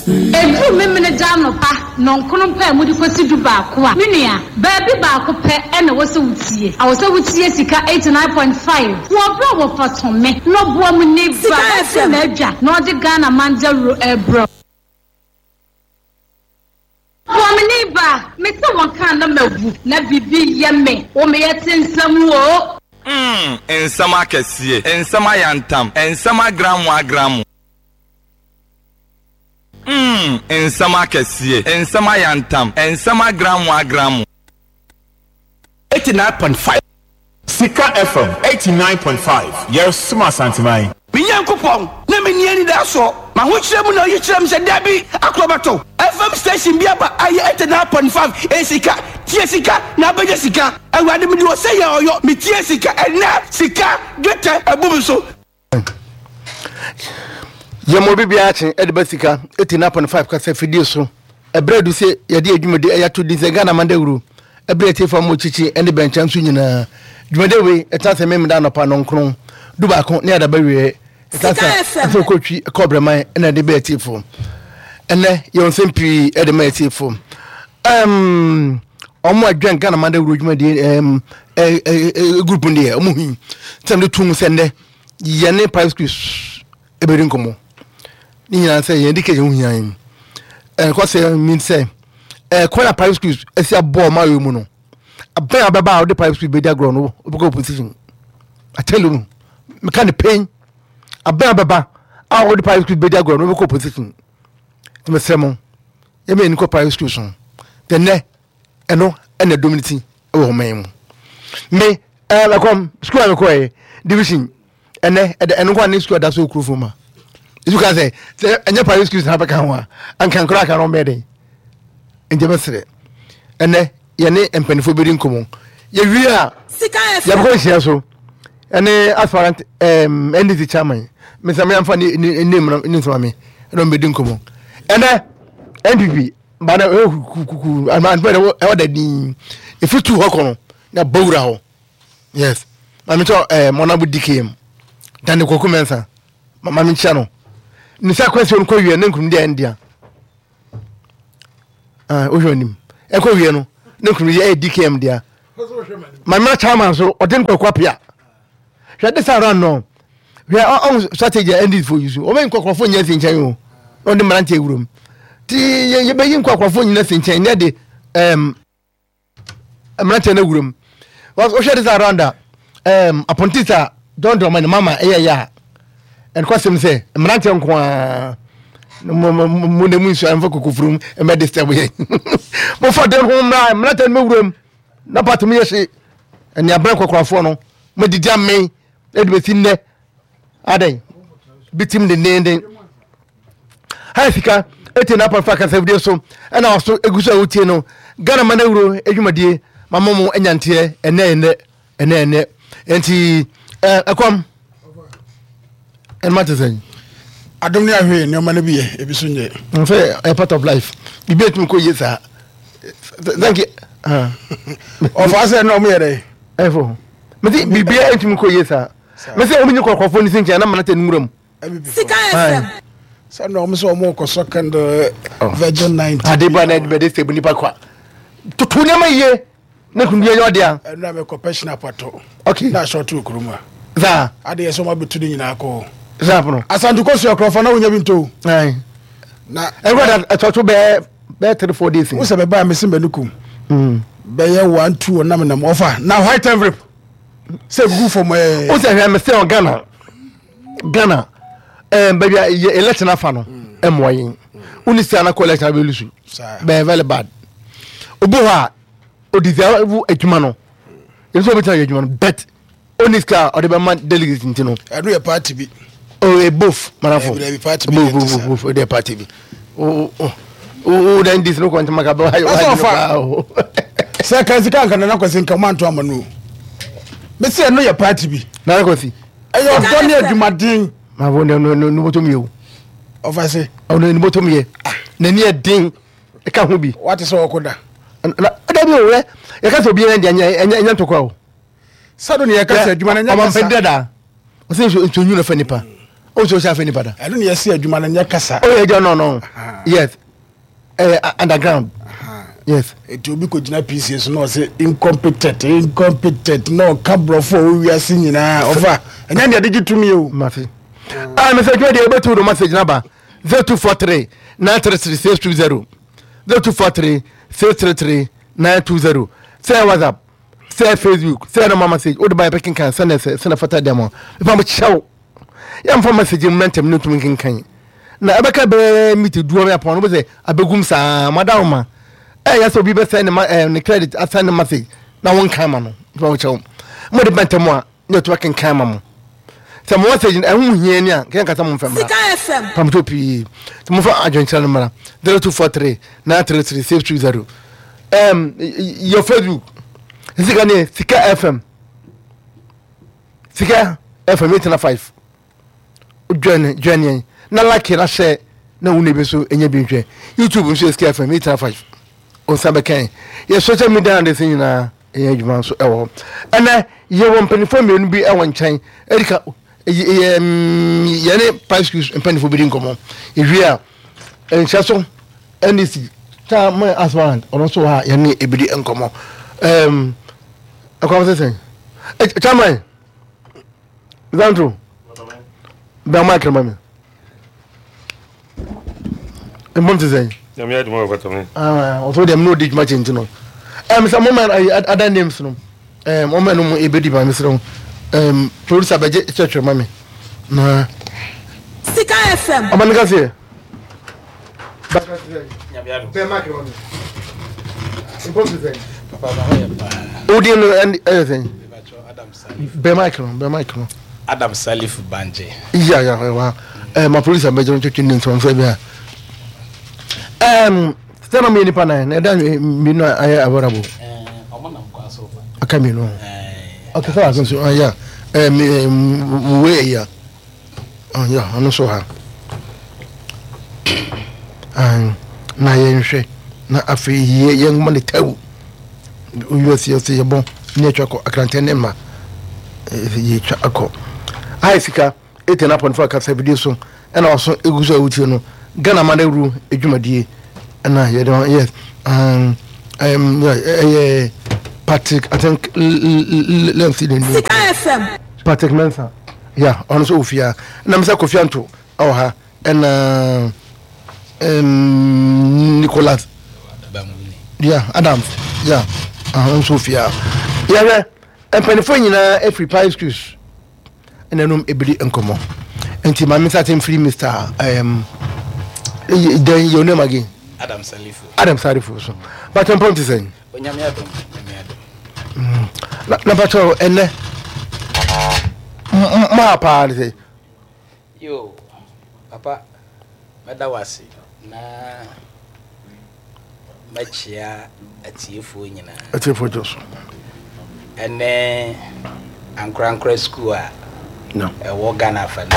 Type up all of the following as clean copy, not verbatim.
Ɛduru Memeneda anɔpa nnɔnkron pɛ a mode kɔsi dubaako a, me nua, baabi baako pɛ na ɛwɔ sɛ wotie. Ɛwɔ sɛ wotie Sika 89.5 wɔ berɛ a wɔfa tome na ɔboa mu ni Sika bra bɛte FM. n'adwa na ɔde Ghana man dawuro rebrɛ wo. Boamuni ba, mete wo nka a na mawu, na biribi yɛ me, wo meyɛ te nsɛm o. Mm, nsɛm akɛseɛ, nsɛm ayantam, nsɛm agramo agramo. Mm, nsɛm akɛseɛ, nsɛm ayantam, nsɛm agramo agramo. 89.5. Sika FM 89.5 Yɛresom Asanteman. Me Nyankopɔn, na menni anidasoɔ. M'ahokyerɛ mu na ɔyi kyerɛɛ me sɛ, Dabi, akorɔbɛto FM station bi aba a ɛyɛ 89.5, ɛyɛ sika, tie sika na abɛnya sika. Awurade, mede ɔsɛ yɛ ɔyɔ, metie sika, ɛnnɛ sika, dwetɛ abu me so. Yɛma obi biara kye de ba sika 89.5 kasa fidie so. Ɛberɛ adu sɛ yɛde yɛn dwumadi ɛyɛ ato din sɛ Ghana man dawuro. Ɛberɛ atiefoɔ a wɔkyekye ne bɛnkyɛn nso nyinaa. Dwumadi wei ɛtena sɛ Memeda anɔpa nnɔnkron, dubaako ne adaba wieɛ. Ɛtena sɛ afei kɔtwi kɔ brɛman ɛna ɛde bɛ atiefoɔ. Ɛnɛ yɛwɔ nsɛm pii ɛde ma atiefoɔ. Um, wɔn a dwɛn Ghana man dawuro dwumadie um, eh, eh, eh, group no deɛ wɔn hui sɛ wɔde tum sɛ nnɛ yɛne private schools ɛbɛdi nkɔmmɔ ne nyinaa sɛ yɛn education ho hia yɛn ɛkɔ sɛ mean sɛ ɛkwan a private schools ɛsi abɔ ɔmo ayɔ mu no abɛn a ɔbɛba a ɔde private school bɛdi agorɔ no ɔbɛkɔ opposition I tell you meka ne pain abɛn a ɔbɛba a ɔde private school bɛdi agorɔ no ɔbɛkɔ opposition nti mesrɛ mo yɛmɛ yɛn kɔ private schools no tɛnɛ ɛno ɛna ɛdɔm ne ti wɔ ɔman yi mu me ɛɛ ɛkɔm sukuu a mekɔɛ division ɛnɛ ɛdɛ ɛno nko ne sukuu ɛda so okuro fam ma esu ka sɛ sɛ ɛnyɛ private schools na abɛka ho a anka nkora aka no ɔmbɛyɛ den nti ɛbɛsrɛ ɛnɛ yɛne mpanimfoɔ bɛdi nkɔmmɔ yɛwie a yɛbɛkɔ nhyia so ɛne aspirant ɛɛm ndc chairman mesɛ meamfa ne ne ne ne nsɛm ame ɛna ɔmbɛdi nkɔmmɔ ɛnɛ npp ba na ɛwɔ kukuku ama ntoma ɛwɔ ɛwɔ da din efi tu hɔ kɔ no na bɔ wura hɔ yes maame kyɛ ɛɛ mɔnabu dkm dani kɔkɔ mɛnsa maame kyɛ no ne sɛ akɔsi wɔn kɔ wie ne nkunimdi ayɛ ne dea ɛɛ wohwɛ onim ɛkɔ wie no ne nkunimdi ayɛ dkm dea maame na chairman so ɔde nkɔkɔ apia. Hwɛ this time round no hwɛ ɔn strategy a ndc fo use wɔbɛyi nkɔkorɔfo nyina si nkyɛn o na ɔde mmeranteɛ awura mu ti yɛbɛyi nkɔkorɔfo nyina si nkyɛn na de ɛɛm mmeranteɛ no awura mu wohwɛ this time round a ɛɛm apɔntis a John Dramani mama ɛyɛ yɛ a ɛnokwasɛm sɛ mmeranteɛ nko ara mo mo mo na mu nsuo ɛmfa kokofurum ɛmɛ disturb yɛ mofa den ho mmra mmeranteɛ no mɛwura mu na party mu yɛ hye ɛne abɛn kɔkɔrafoɔ no madidi amee ɛde bɛsi nnɛ adɛn bitim dendenden ha sika ɛtie na apɔmfa kasafidie so ɛna ɔso ɛgu so a wotie no Ghana ma no awuro adwumadie mama mo anyanteɛ ɛnɛ ɛnɛ ɛnɛ ɛnɛ nti ɛkɔm ɛnma te sɛn adom ne ahwɛ nneɛma no bi yɛ ebi so nyɛ sɛ ɛyɛ part of life biribi atumi kɔ yie saa thank you ɔfa sɛ na ɔmo yɛ dɛ ɛfo mese biribiara ntumi kɔ yie saa mese ɔmo nyi kɔkɔfoɔ ne si nkyɛn na mana tɛ nwura mu Sika FM. Sɛ na ɔmo sɛ ɔmo kɔsɔ candle oh. virgin night. Ade ba na ɛde sɛ nipa kwa toto nneɛma yie ne kunu yɛ ɔde a. Ɛnu a mɛkɔ pɛhyɛn apato. Okay. Na asɔ to kurom a. Saa. Ade yɛ sɛ ɔmo abɛtu ne nyinaa kɔ. Saa pono. Asante kɔ sua kurɔfo na wonya bi nto. Ayi. Na ɛwura da ɛtɔto bɛɛ bɛɛ 3 4 days. Wo sɛ bɛba a mesi mɛnu kum. Mm. Bɛyɛ 1 2 ɔnam nam ɔfa na white envelope sɛ gugu fam ɛɛ. Wo sɛ hwɛ mɛ sɛ Ghana Ghana ɛɛ baabi a yɛ election afa no ɛmoa yɛn. Wo ni sika na kɔ election abɛ lusu. Bɛyɛ very bad. Obi hɔ a odisavu adwuma no. Ebi sɛ obi tena yɛ adwuma no bet oni sika a ɔde bɛma delegate nti no. Ɛno yɛ party bi. Oh, eh, both manafo. Ɛbi party bi. Both both both both ɛyɛ party bi. O o o dan dis no kɔntɛn maka bɛ wa wa paa o. Sɛ kan sika nka nana kwasi nka ɔmo anto ama no o. Mesi ɛno yɛ party bi. Nana kwasi. Ɛyɛ ɔdɔ ne adwumaden. Manafo ne ne ne bɔtɔ mi yɛ o. Ɔfa se. Ɔno ne bɔtɔ mi yɛ. N'ani yɛ den. Ɛka ho bi. Wate sɛ ɔkɔ da. Na ɛda bi o yɛ yɛka sɛ obi yɛ deɛ ɛnyɛ ɛnyɛ ntɔkwa o. Sɛ do ne yɛka sɛ adwuma no nyɛ kasa. Ɔmampɛ dada. Ɔsɛ nsuo nsuo nwunu fɛ nipa. Ɔsɛ ɔsɛ afɛ nipa da. Ɛno ne yɛsɛ adwuma no nyɛ kasa. Ɔyɛ agya no no. Yes, underground. Yes. Eti obi kɔ gyina PCA so na ɔsɛ incompetent incompetent na ɔka borɔfo a ɔwɔ wiase nyinaa ɔfa ɛnyɛ deɛ de gye tumi o. Mate. Ah, Mr. Adwuma deɛ wobɛtu do message naba 0243 933 620 0243 633 920 sɛ WhatsApp sɛ Facebook sɛ normal message wode ba yɛbɛkenkan sɛne sɛ sɛne fata deɛ ma mefa mo kyɛw yɛmfa message mmrɛ ntɛm ne ntumi nkenkan na ɛbɛka bɛɛ miti duo bɛ apɔn no bɛsɛ abɛgum saa madawoma ɛyɛ sɛ obi bɛsɛn ne ma ɛɛ ne credit asɛn ne message na wɔnkan ma no mefa mo kyɛw mo de bɛ ntɛm a ne ɛtumi akenkan ma mo sɛ mo message no ɛho hia ni a kɛn kasa mo mfɛ mmra pamto pii sɛ mo fa adwenkyerɛ no mmra 0243 933 620 your Facebook sika ne sika fm sika fm 895 join join yɛn na like na share na wo nua bi nso nya bi nhwɛ youtube nso yɛ sika fm 895 ɔnsa bɛka yɛ social media handles nyinaa ɛyɛ adwuma nso ɛwɔ hɔ ɛnɛ yɛwɔ mpanimfoɔ mmienu bi ɛwɔ nkyɛn ɛdika yɛ yɛne five schools mpanimfoɔ bi di nkɔmmɔ ewie a nhyɛ so ndc taa mo aspirant ɔno nso wɔ ha yɛne ebi di nkɔmmɔ ɛɛm ɛkwan sɛ sɛn ɛ chairman zantro bɛn mo akɛrɛ ma mi. Mbom te sɛn? Nyame adwuma wɔ fata me. Ah, ɔsɔ deɛ mene ɔdi dwuma kyɛ nti no. Ɛm sɛ moma ayi other names no. Ɛm ɔma no mu ebedi ma mesrɛ wo. Ɛm producer bɛgye kyerɛkyerɛ ma me. Na Sika FM. Ɔma no kaseɛ. Bɛn ma kɛmɛ mi. Mbom te sɛn? Papa ma ho yɛ paa. Odin no ɛyɛ sɛn? Bɛn mic no, bɛn mic no. Adam Salif Banje. Ya ya wa. Eh ma police abɛgye no twetwe ne nsɛm fɛ bi a. Ɛm sɛ na mo nipa nan na ɛda mmienu a ayɛ available. Eh ɔmo nam kwan so ba. Aka mmienu. Eh. Okay sɛ baako nso ayɛ eh me we ya. Oh ya ɔno nso ha. An na yɛnhwɛ na afei yɛ yɛn nwoma ne tawu. US yɛsɛ yɛbɔ ne atwa kɔ akrantɛ ne mma yɛtwa akɔ ayɛ sika ɛtɛ no apɔnfo akasa video so ɛna ɔso ɛgu so a wotie no Ghana ma no awuru adwumadie ɛna yɛde ho yes um, um, ɛyɛ Patrick I think let's see the name Sika FM Patrick Mensah yeah ɔno nso wɔ fie a ɛna mesɛ Kofi Anto ɛwɔ ha ɛna um, Nicholas yeah Adams yeah ahun nso fie a yɛhwɛ mpanimfoɔ nyinaa afiri pine schools ɛna ɛnum ebiri nkɔmɔ nti maame nsa te mfiri Mr. Um, then your name again Adam Salifu Adam Salifu so but mpɔn ti sɛn Onyame adom Onyame adom na na patro ɛnɛ maa paa de sɛ Yoo papa mɛda wo ase na mɛkyea atiefoɔ nyinaa. Atiefoɔ gye so. Ɛne ankorankora sukuu a no. ɛwɔ Ghana afa no.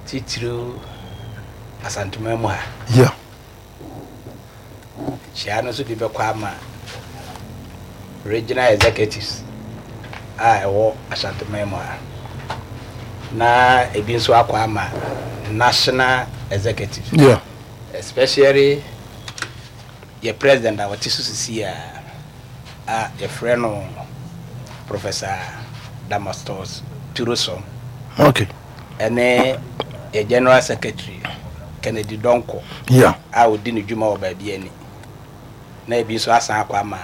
Titiriw Asanteman mu ha. Yeah. Nkyia no nso bi bɛkɔ ama Regional Executives a ɛwɔ Asanteman mu ha, na ebi nso akɔ ama National Executives. Yeah. Especially yɛ president a ɔte so sisi a a yɛfrɛ no Professor Damastus Turosom. Okay. Ɛne yɛ General Secretary Kennedy Donkor Yeah. a ɔdi ne dwuma wɔ baabi ani. Na ebi nso asan akɔ ama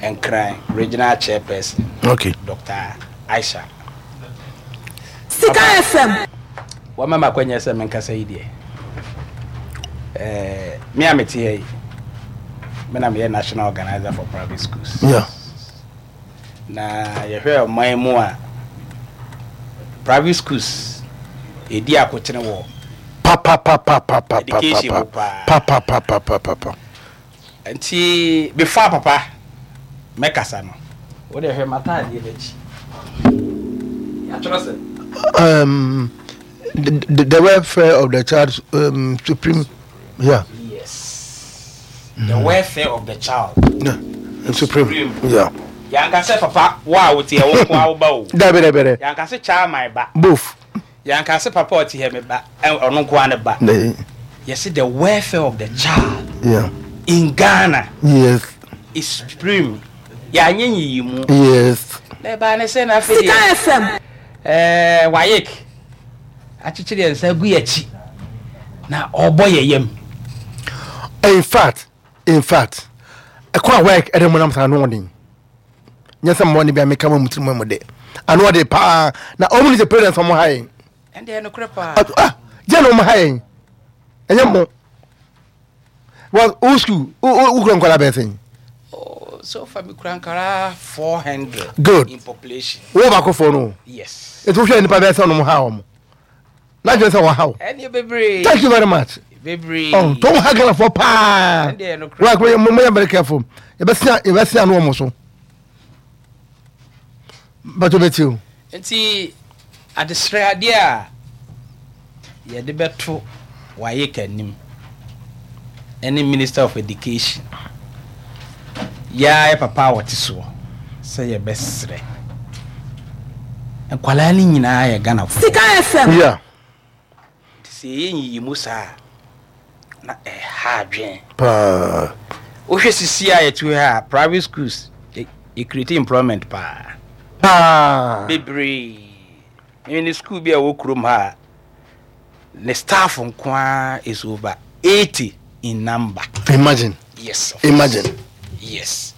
Nkran Regional Chairperson Okay. Dr. Aisha. Sika Papa, FM. Wama me akwanya sɛ menkasa yi deɛ, eh, me a mete ha yi, me na meyɛ National Organizer for Private Schools. Yeah. Na yɛhwɛ ɔman mu a, private schools ɛdi akotene wɔ education mu paa. Papapapapapapapapapapa. Nti before papa mɛkasa no, wo deɛ hwɛ m'ataadeɛ no akyi. Yɛatwerɛ sɛ. The, the welfare of the child um, supreme yeah. Yes. The welfare of the child. Yeah. Supreme. Supreme. Yeah. Yɛanka sɛ papa wo a wote ɛwo nko a wo ba o. Dabi dabi dabi. Yɛanka sɛ child my ba. Both. Yɛanka sɛ papa a ɔte ha me ba, ɔno nko ara ne ba. Yɛse the welfare of the child yeah. in Ghana yes. is supreme. Yɛanyɛ nyiyimu. Yes. Na ɛbaa ne sɛ na afei deɛ. Sika FM. Ɛɛ WAEC akyekyere yɛn nsa agu yɛn akyi na ɔrebɔ yɛn yam. In fact, in fact, ɛkɔ a WAEC ɛde mo nam saa ano ɔden. Nyɛ sɛ mmɔ ne bi a meka ma mu tirim mu de. Ano ɔde paa na ɔmo ne sɛ parents ɔmo ha yɛn. Ɛnde ɛnokorɛ paa. Ah, gye na ɔmo ha yɛn. Ɛnyɛ mo. Well, wo school, wo kura nkwadaa bɛyɛ sɛn? Oh, so far me kura nkwadaa 400. Good. In population. Wo baako fo no. Yes. Etu hwɛ nipa bɛyɛ sɛ ɔnom ha wɔn. Na dwen sɛ wɔha wo. Ɛne bebree. Thank you very much. Bebree. Oh, to ha Ghana fo paa. Ɛnde no kura. Wa mo mo yɛ very careful. Yɛbɛsia yɛbɛsia no wɔn so. Bato bɛti o. Nti adesrɛ adeɛ a yɛde bɛto WAEC anim ne Minister of Education, yɛ ara yɛ papa a ɔte soɔ sɛ yɛbɛsrɛ. Nkwadaa no nyinaa yɛ Ghanafoɔ. Sika FM. Yeah. Nti sɛ yɛyɛ nyiyimu saa a, na ɛha adwene. Paa. Wohwɛ sisi a yɛte hɔ a, private schools yɛ create employment paa. Paa. Bebree. Mene school bi a ɛwɔ kurom ha a, ne staff nko ara is over 80 in number. Imagine. Yes. Imagine. Yes.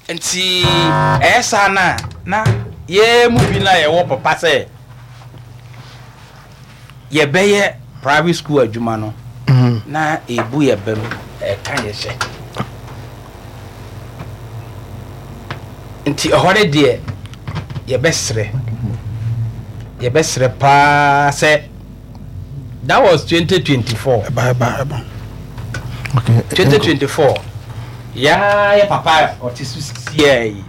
Nti ɛyɛ saa no a, na yɛn mu bi no a yɛwɔ papa sɛ yɛbɛyɛ private school adwuma no, na ɛbu yɛ bam, ɛka yɛ hyɛ. Nti ɛhɔ no deɛ yɛbɛsrɛ, yɛbɛsrɛ paa sɛ That was 2024. Ɛba ɛba ɛba. Okay. 2024. Yaa yɛ papa ɔte so sisiɛ yi.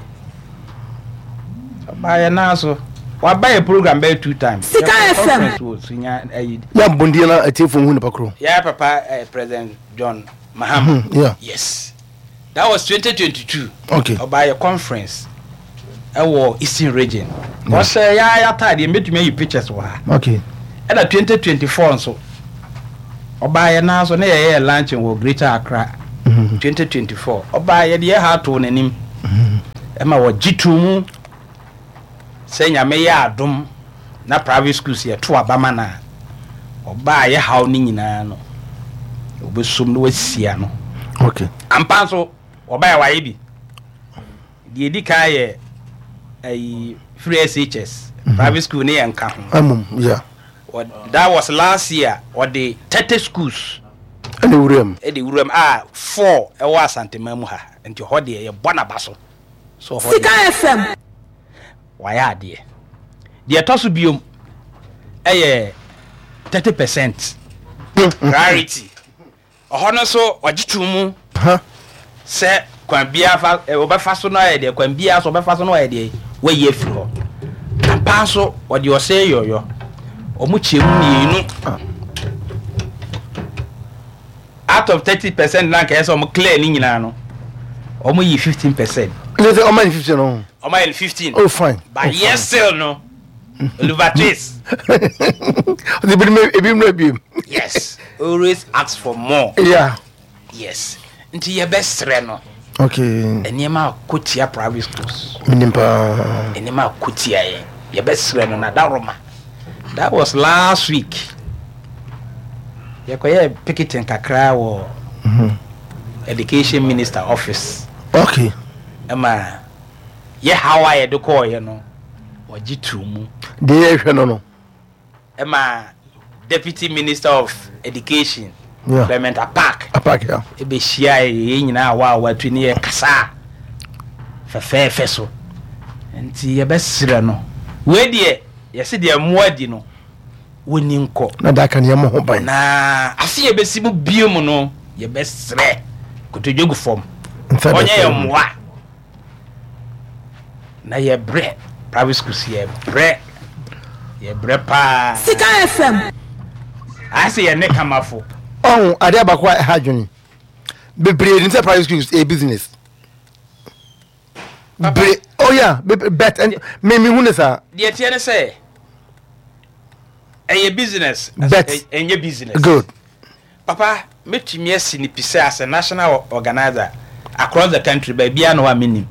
Ɔba yɛ nan so. Waba yɛ program bɛyɛ two times. Sika FM. Wɔ sunya ayi. Yɛ mbɔndie na atiefo hu nipa koro. Yɛ papa eh, President John Mahama. Mm, yeah. Yes. That was 2022. Okay. Ɔbaa yɛ conference ɛwɔ Eastern region. Ɔhyɛ yɛ ayɛ ataadeɛ mbɛtumi ayi pictures wɔ ha. Okay. Ɛna 2024 nso ɔbaa yɛ nan so ne yɛyɛ yɛ luncheon wɔ Greater Accra. 2024 ɔbaa yɛde yɛ ha ato n'anim. Ɛma wɔgye too mu sɛ nyame yɛ adom na private schools yɛto aba ma no a ɔbaa yɛ haw no nyinaa no ɔbɛsom na wasi ano. Okay. Ampa nso ɔbaa yɛ wayɛ bi. Deɛ ɛdi kan yɛ ayi free SHS private school ne yɛ nka ho. Amum, yeah. That was last year ɔde 30 schools ɛna wuram. Ɛde wuram a 4 ɛwɔ Asanteman mu ha nti hɔ deɛ yɛbɔ n'aba so. So hɔ Sika deɛ FM. wayɛ adeɛ. Deɛ ɛtɔ so biom ɛyɛ 30 percent priority. Ɔhɔ no nso ɔgye to mu sɛ kwan biara fa ɔbɛfa so no ayɛ deɛ kwan biara so ɔbɛfa so no ayɛ deɛ wayi afiri hɔ. Ampa nso ɔde ɔsɛ yɔyɔ. Wɔn kyɛ mu mmienu. Out of 30% na nka ɛsɛ wɔn clear ne nyinaa no wɔn yi 15%. Ne sɛ ɔma ne 15 no. Ɔma yɛ no 15. Oh fine. But oh, yes still no. Oliver Twist. Ɔde ebi mu ebi mu ebiem. Yes. Always ask for more. Yeah. Yes. Nti yɛbɛsrɛ no. Okay. Nneɛma akɔ tia private schools. Menim paa. Nneɛma akɔ tia yɛn. Yɛbɛsrɛ no na daroma. That was last week. Yɛkɔyɛ picketing kakra wɔ education minister office. Okay. Ɛma yɛ haw a yɛde kɔɔyɛ no wɔgye too mu. Deɛ yɛhwɛ no no. Ɛma deputy minister of education yeah. Clement Apaak. Apaak yeah. Ɛbɛhyia yɛn nyinaa a wa watu ne yɛ kasa fɛfɛɛfɛ so. Nti yɛbɛsrɛ no. Wei deɛ yɛse deɛ mmoa di no wɔnni nkɔ. Na da aka no yɛmmɔ ho ban. Na afe a ɛbɛsi mu bio mu no yɛbɛsrɛ kotodwe gu fam. Nsa Ɔnyɛ yɛn bɛsrɛ mu. mmoa. Na yɛbrɛ private schools yɛbrɛ yɛbrɛ paa. Sika FM. Ayɛ sɛ yɛne kamafo. Ɔho adeɛ baako a ɛha adwene bebree nim sɛ private schools ɛyɛ business. Bebree oh yeah bet me me hu ne saa. Deɛ teɛ ne sɛ. Ɛyɛ business. Bet. Ɛnyɛ business. Good. Papa, mɛtumi asi no pi sɛ as a national organiser across the country baabiara na hɔ a mennim.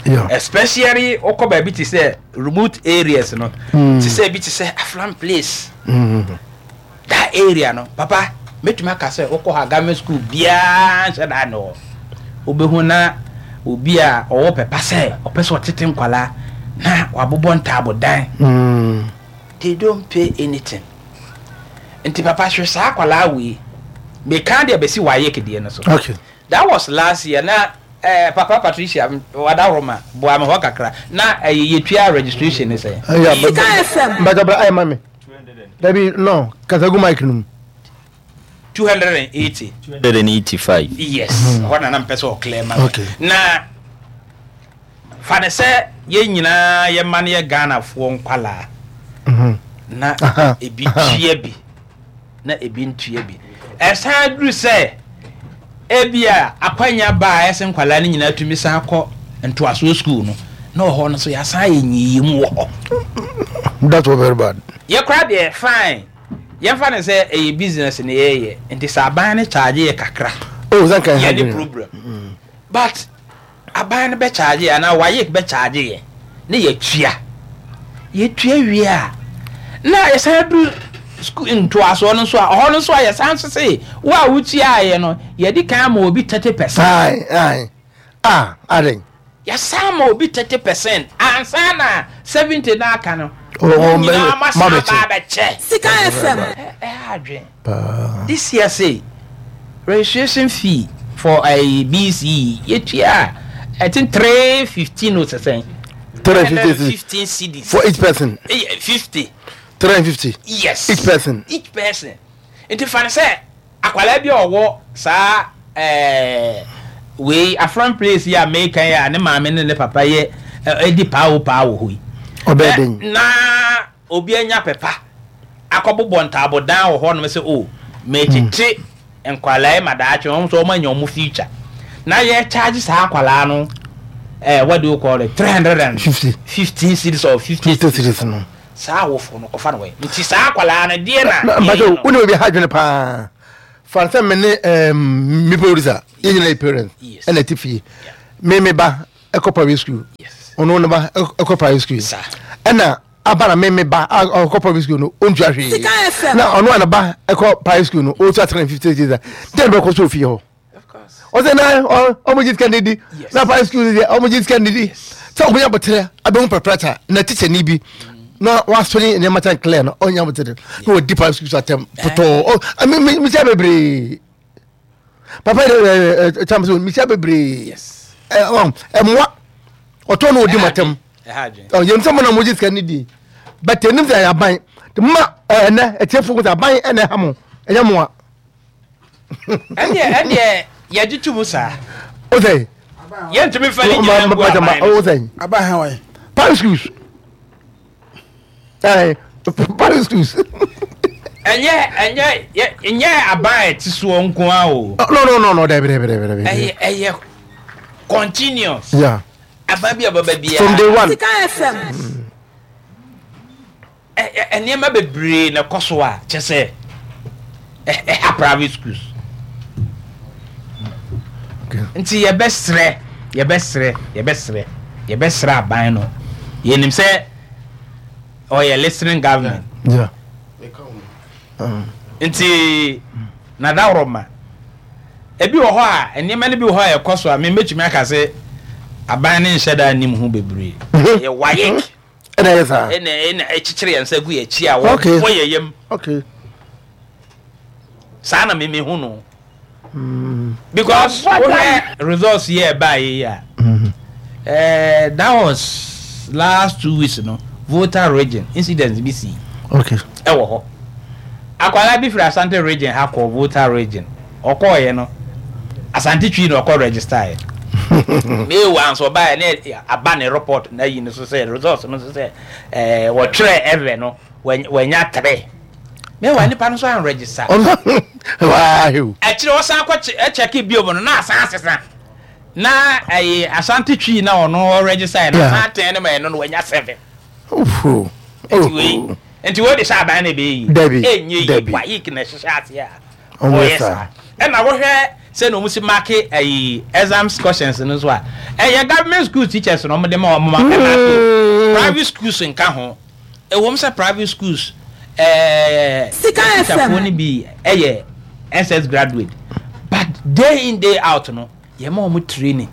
Yeah. Especially wokɔ baabi te sɛ remote areas no, mm. te sɛ bi te sɛ Aflam place. Mm. That area no, papa, mɛtumi aka sɛ wokɔ hɔ a government school biara nhyɛ da ne hɔ. Wobɛhu na obi a ɔwɔ pɛpa sɛ ɔpɛ sɛ ɔtete nkwalaa na wabobɔ ntaabodan. Mm. They don't pay anything. Nti papa hwɛ saa akwadaa wei. Meka deɛ bɛsi WAEC deɛ no so. Okay. That was last year na eh, papa Patricia Wadaworoma boa me hɔ kakra. Na ɛyɛ eh, yɛtua registration ne sɛn. Sika FM. Mbɛtɔ ayɛ ma me. Dabi no kasagu mic no mu. 280. 285. Yes. Hɔ na na mpɛ sɛ ɔclear ma me. Okay. Na Fa no sɛ yɛn nyinaa yɛn mma no yɛ Ghanafoɔ nkwadaa na ebi tua bi na ebi ntua bi. Ɛsan duru sɛ ebi a akwanya ba a ɛsɛ nkwadaa no nyinaa tumi san kɔ ntoasoɔ sukuu no na wɔ hɔ no so yɛasan ayɛ nyiyimu wɔ hɔ. That was very bad. Yɛkora deɛ fine yɛmfa no sɛ ɛyɛ business na yɛyɛ nti sɛ aban no charge yɛ kakra. Oh, yɛne problem. But Aban no bɛkyaagye yɛn anaa WAEC bɛkyaagye yɛn na yɛatua. Yɛtua wie a, na yɛsan duru sukuu ntoasoɔ no nso a, ɔhɔ no nso a yɛsan nso se wo a wotuaeɛ no, yɛadi kan ama obi 30%. Ae, ae. Ah, adɛn? Yɛasan ama obi 30% ansa na 70 no aka no, Oh, mo oh, nyinaa moasan aba mabɛkyɛ. abɛkyɛ. Sika FM. Ɛha adwene. Paa. This year sei, registration fee for ɛyi BCE yɛtua I think 315 o sɛ sɛn. 315 cedis. For each person. 50. 350. Yes. Each person. Each person. Nti fa no sɛ akwadaa bi a ɔwɔ saa ɛɛ wei Afram place yi a meka yi a ne maame ne ne papa yɛ ɛdi paa o paa wɔ hɔ yi. Ɔbɛyɛ den. Na obi anya pɛ pa akɔbobɔ ntaabodan wɔ hɔnom sɛ oh mekyekye nkwadaa yi ma daakye wɔn nso wɔn anya wɔn future na yɛ charge saa akwadaa no eh, what do you call it 315 cedis or 50 cedis no saa awofo no kɔfa no wɔ nti saa akwadaa no deɛ na mpakyɛ wo ne obi ha adwene paa fa sɛ me ne me producer yɛ nyina yɛ parents ɛna ɛte fie me me ba ɛkɔ private school ɔno ne ba ɛkɔ private school ɛna aba na me me ba a ɔkɔ private school no ɔntua hwee na ɔno a ne ba ɛkɔ private school no ɔtua 350 cedis dɛn bɛkɔ so ofie hɔ ɔsɛ na ɔmo gye sika ne di na private school deɛ ɔmo gye sika ne di sɛ ɔmo nya abotire abɛhu pɛprɛta na teacher ni bi na wasɔre nneɛma kyɛn clear no ɔnya abotire na ɔdi private school so atɛm pɔtɔɔ ɔ mi mi mi sɛ bebree papa yɛ ɛ ɛ kyɛn so mi sɛ bebree ɛ ɔ ɛmoa ɔtɔ na ɔdi mu atɛm ɔ yɛn nsɛm na mo gye sika ne di bɛtɛ nim sɛ ɛyɛ aban ma ɛnɛ ɛtiɛfo ko sɛ aban ɛna ɛha mo ɛnyɛ mo a. Ɛndeɛ ɛndeɛ yɛgye to mu saa. O sɛ. Yɛntumi fa ne nyinaa ngu aban no. O sɛ. Aban ha wɔn. Parish schools. Ɛɛ parish schools. Ɛnyɛ ɛnyɛ ɛnyɛ aban a ɛte soɔ nko ara o. No no no no dɛbi dɛbi dɛbi dɛbi. Ɛyɛ ɛyɛ continuous. Yeah. Aban bi a ɔbɛba biara. From day one. Sika FM. Nneɛma bebree na ɛkɔ so a kyɛ sɛ ɛha private schools. Nti yɛbɛsrɛ yɛbɛsrɛ yɛbɛsrɛ yɛbɛsrɛ aban no yɛnim sɛ ɔyɛ listening government. Yeah. Nti nadaworoma ebi wɔ hɔ a nneɛma no bi wɔ hɔ a ɛkɔ so a mebɛtumi aka sɛ aban no nhyɛ da nnim ho bebree. Ɛyɛ WAEC. Ɛna ɛyɛ saa. Ɛna ɛna ɛkyekyere yɛn nsa gu yɛn akyi a wɔbɔ yɛn yam. Okay. Saa na mimi hu no. Because wohwɛ results yɛ ɛbaa yɛ yi a. Ɛɛ that was last 2 weeks no Volta region incident bi si. Okay. Ɛwɔ hɔ. Akwadaa bi firi Asante region ha kɔ Volta region. Ɔkɔɔyɛ no Asante Twi na ɔkɔ register yɛ. Meewa nso ɔbaeɛ ne aba ne report na ayi no so sɛ results no so sɛ ɛɛ wɔtwerɛ ɛvɛ no wanya 3. Meewa nipa no nso an register. Akyire ɔsan kɔ kyɛke bio no na asan asesa na ɛyɛ Asante Twi na ɔno ɔregister yɛ na asan atɛn no ma ɛno no wanya 7. Nti wei. Nti wei de sɛ aban na ɛbɛyɛ yie? Dabi, Ɛnyɛ yie. dabi. WAEC na ɛhyehyɛ aseɛ a Ɔmo yɛ ɔyɛ saa. saa. Ɛna wohwɛ sɛnea wɔn si marke ɛyi exams questions no nso a, ɛyɛ government school teachers na wɔn de ma wɔn ma ɛmarke o. Private schools nka ho. Ɛwom sɛ private schools ɛɛ Sika FM. teacherfoɔ no bi ɛyɛ SS graduate but day in day out no yɛma wɔn training.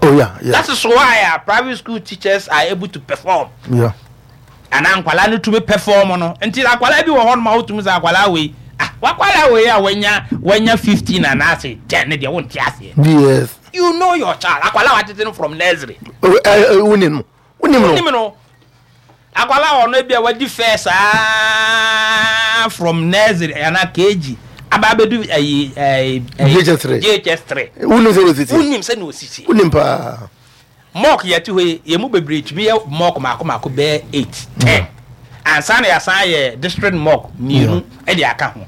Oh yeah, yeah. That is why a private school teachers are able to perform. Yeah. Anaa nkwadaa no tumi perform no. Nti akwadaa bi wɔ hɔ nom a wotumi sɛ akwadaa wei ah wakwadaa wei a wanya wanya 15 anaasɛ 10 ne deɛ wonte aseɛ. Yes. You know your child. Akwadaa watete no from nursery. Oh, eh, eh, wonim no. Wonim no. Wonim no. Akwadaa a ɔno ebi a wadi fɛ saa from nursery anaa KG aba abɛdu ɛyi ɛyi JHS3. JHS3. Wonim sɛ osisi. Wonim sɛ na osisi. Wonim paa. Mock yɛte hɔ yi, yɛn mu bebree tumi yɛ mock mmaako mmaako bɛyɛ eight, ten ansa na yɛasan ayɛ district mock mmienu de aka ho.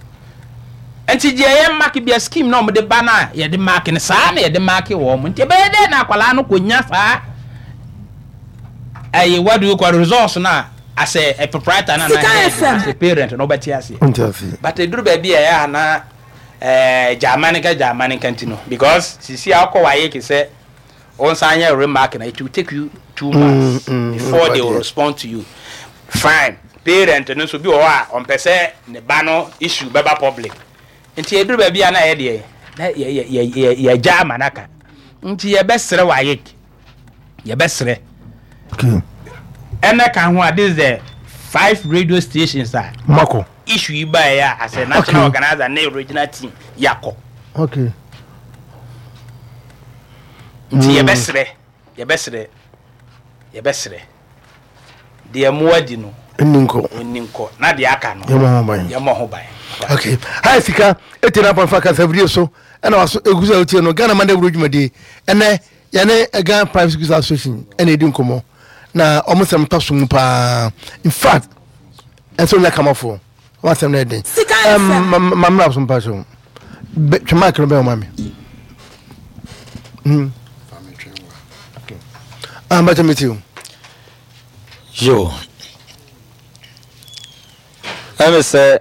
Nti deɛ yɛ mark bia scheme na wɔde ba no a yɛde mark no saa na yɛde mark wɔn. Nti ɛbɛyɛ dɛ na akwadaa no kɔnya saa ɛyɛ what do you call results no a as a, a proprietor na Sika na FM. as a parent na wobɛte aseɛ. Wonte aseɛ. But ɛduru baabi a ɛyɛ a na ɛɛ gyaama ne nka gyaama ne nka nti no because sisi a wokɔ wayɛ ke sɛ Wo nsa nyɛ remark na it will take you 2 months before they will respond to you. Fine. Parent no nso bi wɔ hɔ a ɔmpɛ sɛ ne ba no issue bɛba public. Nti ɛduru baabi a na yɛ deɛ na yɛ yɛ yɛ yɛgya ama no aka. Nti yɛbɛsrɛ WAEC. Yɛbɛsrɛ. Okay. Ɛnɛ ka ho a this is the five radio stations a Mako. issue yi baeɛ a as a national Okay. organizer ne regional team yɛakɔ. Okay. Nti yɛbɛsrɛ, yɛbɛsrɛ, yɛbɛsrɛ, deɛ mmoa di no, Nni nkɔ. ɔnni nkɔ, na deɛ aka no, Yɛmmɔ ho ban. yɛmmɔ ho ban. Okay. Hi sika eti na pɔnfa kasafidie so ɛna waso egu so a wotie no Ghana man dawuro dwumadie ɛnɛ yɛne Ghana Private Schools Association ɛna edi nkɔmɔ na wɔn nsɛm tɔ so mu paa in fact ɛsɛ onya kamafoɔ. W'asɛm no yɛ den. Sika Um, FM. ma ma mmra so mpa so. Twe mic no bɛn wo ma me. Okay. Ah, mbɛkyɛ me ti o. Yo. Ɛmi sɛ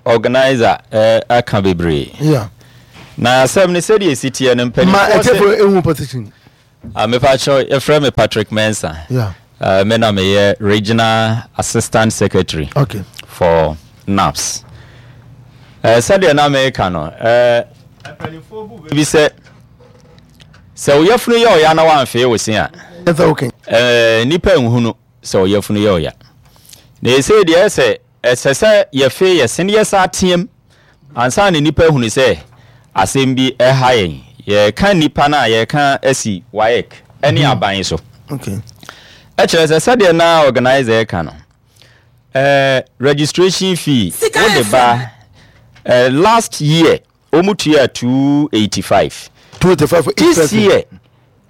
organizer eh, aka bebree. Yeah. Na asɛm no sɛdeɛ ɛsi teɛ no Ma mpanimfoɔ ɛtiɛfo sɛ ehu position. Ah, mepakyɛw, yɛfrɛ me Patrick Mensah. Yeah. Me na meyɛ Regional Assistant Secretary okay. for NAPS. Sɛdeɛ na meka no, mpanimfoɔ bu bɛ bi sɛ sɛ wo yafunu yɛ ɔya na woamfee wo se a, nnipa nhunu sɛ wo yafunu yɛ ɔya. Na ɛsei deɛ sɛ ɛsɛ sɛ yɛfee yɛ se na yɛsa team Ansa na nnipa ahunu sɛ asɛm bi reha yɛn, yɛreka nnipa no a yɛreka asi WAEC ne aban so. Ɛkyerɛ sɛ sɛdeɛ na organizer reka no, eh, registration fee wode ba eh, last year wɔn tua 285. 285 for each This person. year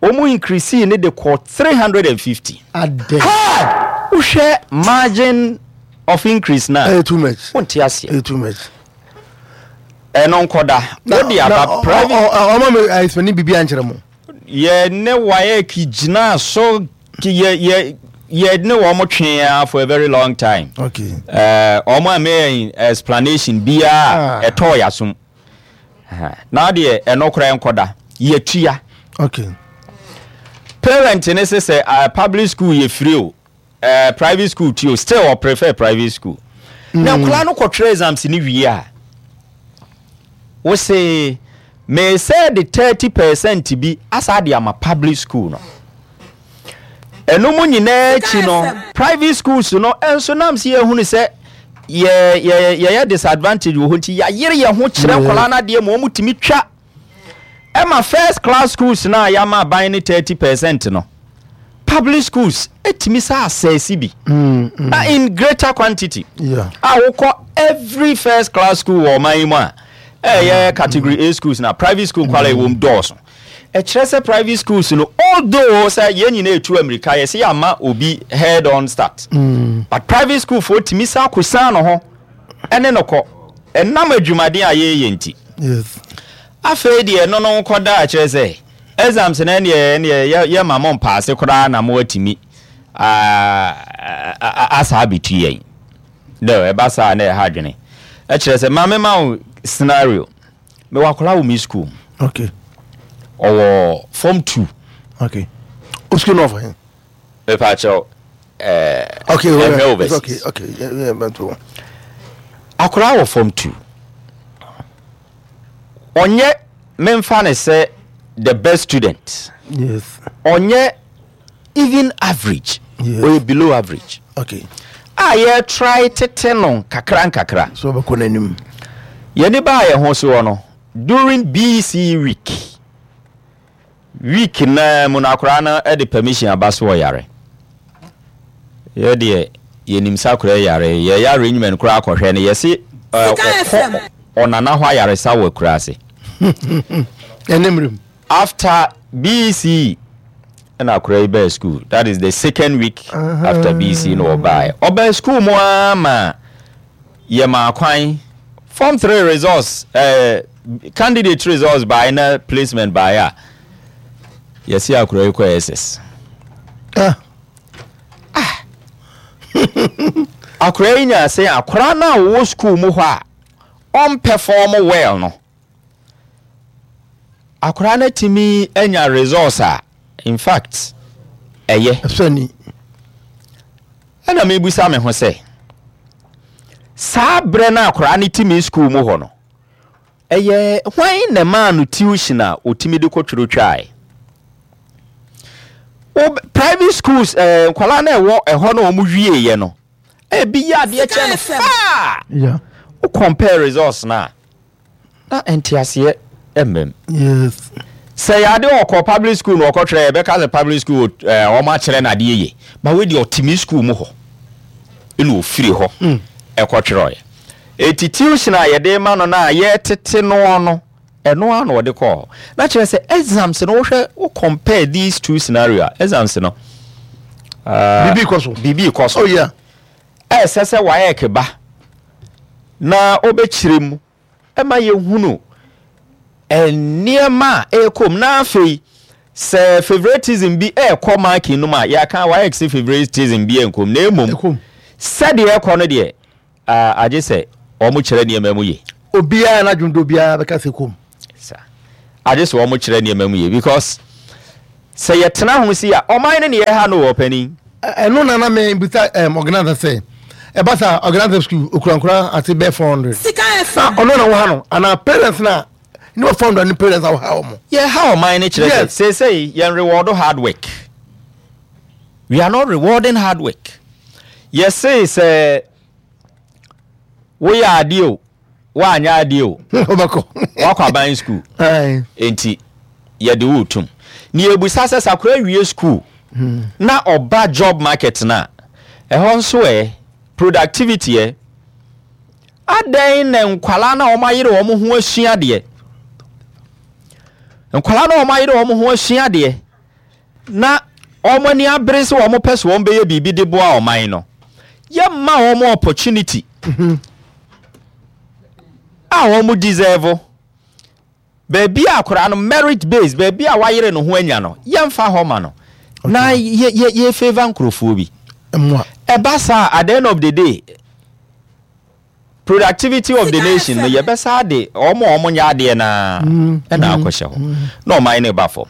Wɔn increasee no de kɔ 350. Adɛn? Hey! Wohwɛ margin of increase no a, Ɛyɛ too much. wonte aseɛ. Ɛyɛ too much. Ɛno nkɔda. Wode aba private. Ɔma me explain biribi ankyerɛ mo. Yɛ ne WAEC gyinaa so yɛ yɛ yɛ ne wɔn twee ara for a very long time. Okay. Ɛɛ wɔn a meyɛ explanation biara ɛtɔɔ yasom. Na deɛ ɛno koraa nkɔda yɛtua. Okay. Parent ne se sɛ uh, public school yɛ free o uh, private school ti o still ɔ prefer private school. Mm. Na nkwadaa no kɔtwerɛ exams ne wie a wose mesɛ de 30% bi asa de ama public school no. Ɛno mu nyinaa akyi no, private schools no nso nam sɛ yɛhunu sɛ yɛ yɛ yɛyɛ disadvantage wɔ hɔ nti yɛayere yɛn ho kyerɛ nkwadaa no adeɛ ma wɔn tumi twa ɛma first class schools no a yɛama aban ne 30% no public schools ɛtumi sɛ asɛsi bi na in greater quantity a wokɔ every first class school wɔ ɔman yi mu a ɛyɛ category A schools na private school nkwalaa ɛwɔ mu dɔɔso. Ɛkyerɛ sɛ private schools no although sɛ yɛn nyinaa etu amirika yɛsɛ yɛama obi head on start but private school foɔ tumi san kɔsan no ho ɛne no kɔ ɛnam adwumaden a yɛyɛ nti. Afei deɛ ɛno no nkɔda a kyerɛ sɛ exams no ɛneɛ ɛneɛ yɛ ma mo mpaase koraa na mo atumi asa abɛtu yɛn. No, ɛba saa na ɛha adwene. Ɛkyerɛ sɛ ma mema wo scenario. Mewɔ akwadaa wɔ me school. Okay. Ɔwɔ form 2. Okay. O school no ɔfɔ he? Mepa kyɛw. Eh, okay, well, well, overseas. Okay, okay. Yeah, yeah, but Akwadaa wɔ form 2. Ɔnyɛ memfa ne sɛ the best student. Yes. Ɔnyɛ even average. Yes. Ɔyɛ below average. Okay. A yɛ try tete no nkakra nkakra. So ɔbɛkɔ n'anim. Yɛne baa yɛn ho soɔ no during BC week week naa mu no akwaraa no de permission aba so ɔyare. Yɛ deɛ yɛnim sɛ akwaraa yare yɛyɛ arrangement koraa akɔhwɛ no yɛse ɔkɔ ɔnana hɔ ayaresa wɔ akuraase. Ɛne mmerɛ mu. After BC ɛna akwaraa yi baa school that is the second week after BC na ɔbaeɛ. Ɔbaa school mu ara ma yɛmaa kwan form 3 results eh, candidate results baeɛ na placement baeɛ a yɛse akwaraa yi kɔ SS. Ah. Ah. Akwaraa yi nyaa sɛ akwaraa no a ɔwɔ school mu hɔ a ɔmpɛfɔm well no Akwadaa no atumi anya results a in fact ɛyɛ. Ɛsɔ ani. Ɛna mebisa me ho sɛ saa berɛ no akwadaa no tumi school mu hɔ no ɛyɛ hwan na ɛmaa no tuition a ɔtumi de kɔtwerɛ twaeɛ? Private schools eh, nkwadaa no ɛwɔ ɛhɔ na wɔn wieeɛ no ebi yɛ adeɛ kyɛ no faa. Wo compare results no a na nteaseɛ mmam. Yes. Sɛ yɛ adeɛ ɔkɔ public school na ɔkɔtwerɛ yɛbɛka sɛ public school ɛɛ wɔn akyerɛ no adeɛ yie ba wei deɛ ɔte me school mu hɔ ɛna ofiri hɔ hmm. ɛkɔtwerɛeɛ eti tuition a yɛde ma no na yɛtete noɔ no ɛno ara na ɔde kɔɔ hɔ na kyerɛ sɛ exams no wohwɛ wo compare these two scenario a exams no uh, biribi kɔ so biribi kɔ so oh yeah Ɛsɛ sɛ WAEC ba na ɔbɛkyerɛ mu ma yɛhunu nneɛma a ɛrekɔ mu na afei sɛ favoritism bi ɛrekɔ marking no mu a yɛaka WAEC sɛ favoritism bi ɛnkɔ mu na mmom sɛdeɛ ɛrekɔ no deɛ agye sɛ wɔn kyerɛ nneɛma mu yie. Obiara n'adwene do obiara bɛka sɛ kɔm. Sa agye sɛ wɔn kyerɛ nneɛma mu yie because sɛ yɛtena ho si a ɔman no ne yɛha no wɔ ɔpanin. Ɛno na na me bisa um, organizer sɛ ɛba sa organizer school okurankura ase bɛɛ 400 Sika na FM. ɔno na wɔha no anaa parents na ne wɔ 400 ne parents a wɔha wɔn. Yɛha ɔman no kyerɛ sɛ Yes. seesei yɛn reward hard work. We are not rewarding hard work. Yɛse sɛ woyɛ adeɛ o woanyɛ adeɛ o wobɛkɔ woakɔ aban school enti yɛde wo tum ne yɛbusa sɛ sakora wie school hmm. na ɔba job market no a ɛhɔ nso ɛ productivity ɛ adɛn na nkwalaa na wɔn ayere wɔn ho asua adeɛ nkwalaa na wɔn ayere wɔn ho asua adeɛ na wɔn ani abere sɛ wɔn pɛ sɛ wɔn bɛyɛ biribi de boa ɔman no, yɛmma wɔn opportunity a wɔn deserve. Baabi a akwadaa no merit based, baabi a wayere ne ho anya no, yɛmfa hɔ ma no. Na yɛ yɛ yɛ favour nkurɔfoɔ bi. Ɛba saa at the end of the day, Productivity of the nation no yɛbɛsa de wɔn a wɔn nyɛ adeɛ no ara na akɔhyɛ hɔ na ɔman no ba fam.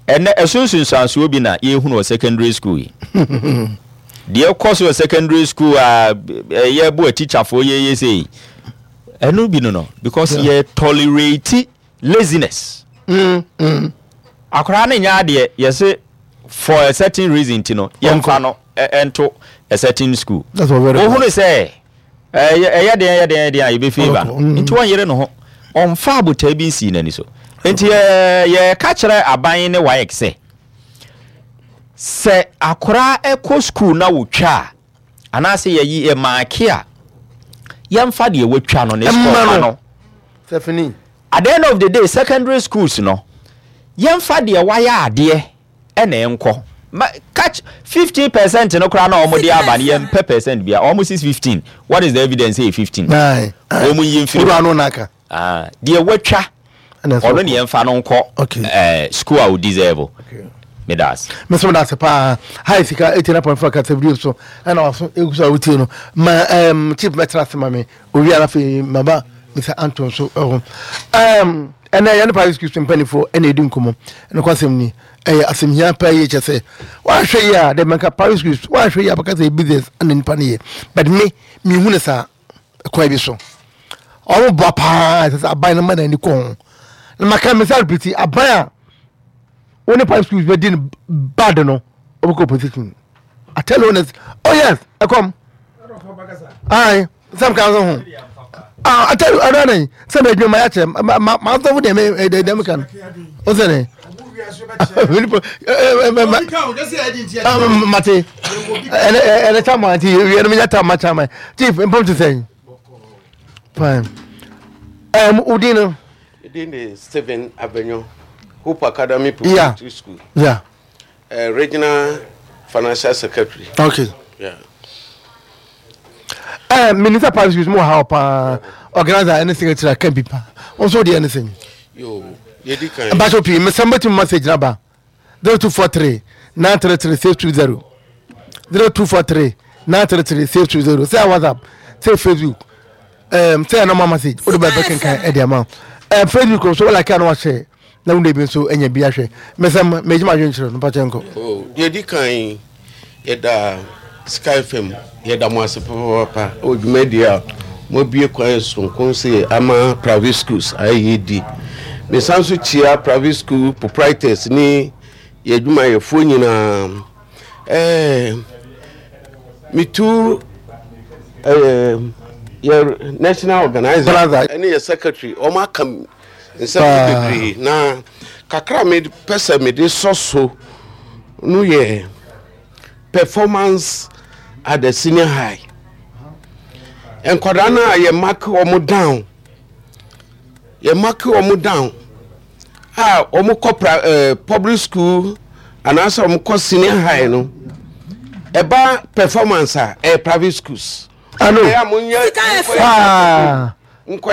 Ɛnɛ ɛso nsunsuansoɔ bi na yɛhunu wɔ secondary school yi. Deɛ ɛkɔ so wɔ secondary school a ɛyɛ bo atikyafoɔ yɛyɛ sei ɛno bi no no because yɛ tolerate laziness. Akwadaa no nyɛ adeɛ yɛse for a certain reason ti no yɛmfa no ɛnto a certain school. Wohunu sɛ ɛyɛ ɛyɛ den ɛyɛ den ɛyɛ den a yɛbɛ favour no mm. nti wɔnyere ne ho ɔmfa abotae bi nsii n'ani so nti yɛka kyerɛ aban ne WAEC sɛ sɛ akora ɛkɔ school na wotwa a anaasɛ yɛyi yɛ maake a yɛmfa deɛ watwa no ne score ma no at the end of the day secondary schools no yɛmfa deɛ wayɛ adeɛ ɛna ɛnkɔ ma catch 15% no koraa na wɔn de aba no yɛn pɛ percent bia wɔn si 15 what is the evidence say 15 wɔn yi mfiri hɔ ah deɛ watwa ɔno ne yɛn fa no nkɔ ɛɛ school a o deserve. Meda ase. Me nso meda ase paa. Hi Sika 89.4 kasa video so ɛna waso egu so a wotie no. Ma um, chief mɛtena ase ma me. Owia na afei maba Mr. Anton so ɛho. Um, ɛnɛ yɛne private school so mpanimfoɔ ɛna ɛdi nkɔmmɔ. Nokwasɛm ni ɛyɛ asɛm hia paa yie kyɛ sɛ woanhwɛ yie a dɛ mɛnka private schools woanhwɛ yie a bɛka sɛ business ɛna nipa no yɛ but me mehu no saa kwan bi so ɔmo boa paa ɛsɛ sɛ aban no ma n'ani kɔ ho na maka me sɛ repeat aban a wo ne private schools bɛdi no bad no ɔbɛkɔ opposition I tell you honest oh yes ɛkɔm ayi sɛm kan so ho ah I tell you ɛdɔ ne sɛ mɛ adwuma ma yɛ kyerɛ ma ma ma asɔfo deɛ mɛ ɛdɛ dɛm kan o sɛ ne mate ɛnɛ ɛnɛ chairman nti yɛ no menya tam ma chairman chief mpom te sɛn fine ɛm wodin no Edin de Stephen Abenyo, Hope Academy Preparatory School. Yeah. Regional Financial Secretary. Okay. Yeah. Minister Private Schools mu wɔ ha paa organizer ɛne secretary aka bi paa wɔn nso deɛ ne sɛn. Yo, yɛdi kan. Mpatsɔ pii mesɛm bɛtumi message na ba 0243 933 620 0243 933 620 sɛ WhatsApp sɛ Facebook um, sɛ ɛnɔma message wode bɛbɛ kenkan ɛde ama um, Facebook nso wɔlike a na wahyɛ na wo bi nso anya bi ahwɛ mesɛm megyima adwenkyerɛ no mpakyɛ nkɔ. Oh, deɛ di kan yɛda Sky FM yɛda mo ase papaapa wɔ dwumadie a moabue kwan soronko se ama private schools ayɛ yɛdi. Mesan nso kyia private school proprietors ne yɛn adwumayɛfoɔ nyinaa. Ɛɛ metu ɛɛ yɛ national organizer ɛne yɛ secretary wɔn aka nsɛm no bebree na kakra a mepɛ sɛ mede sɔ so no yɛ performance at the senior high nkwadaa no a yɛ mark wɔn down yɛ mark wɔn down a wɔn kɔ pra ɛɛ eh, public school anaasɛ wɔn kɔ senior high no ɛba performance a ɛyɛ private schools. Alo. Ɛyɛ a mo nyɛ. Paa.